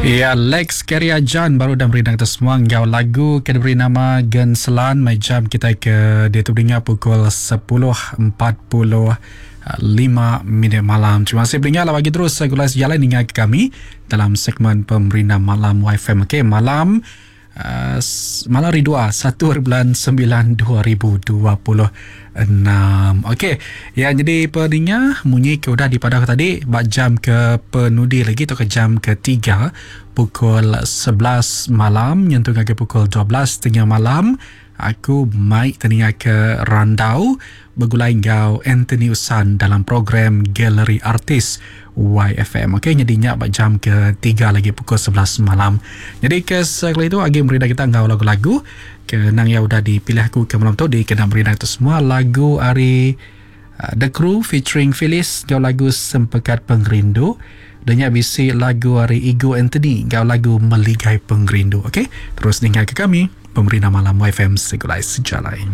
Ya, Lex Keria Jan baru udah merindang kita semua enggau lagu ke diberi nama Genselan mai jam kita ke diatu dengar pukul 10.45 minit malam. Terima kasih pendengar lah bagi terus gulai sejalai ninga ke kami dalam segmen Pemerindang Malam YFM. Okey, malam uh, malam hari 2 1 hari bulan 9 2026. Okey, ya jadi pendengar munyi ke udah dipadah tadi bak jam ke penudi lagi atau ke jam ketiga pukul 11 malam nyentuh ke pukul 12.30 malam aku mai teninga ke randau begulai enggau Anthony Usan dalam program Galeri Artis YFM. Okey, jadi nyak bak jam ke tiga lagi pukul 11 malam. Jadi ke sekali itu agi merida kita enggau lagu-lagu ke nang yang udah dipilih aku ke malam tu di kena merida itu semua lagu ari uh, The Crew featuring Phyllis enggau lagu Sempekat Pengerindu. Dan nya bisi lagu ari Igo Anthony enggau lagu Meligai Pengerindu. Okey, terus dengar ke kami Pemerintah Malam YFM Segulai Sejalai.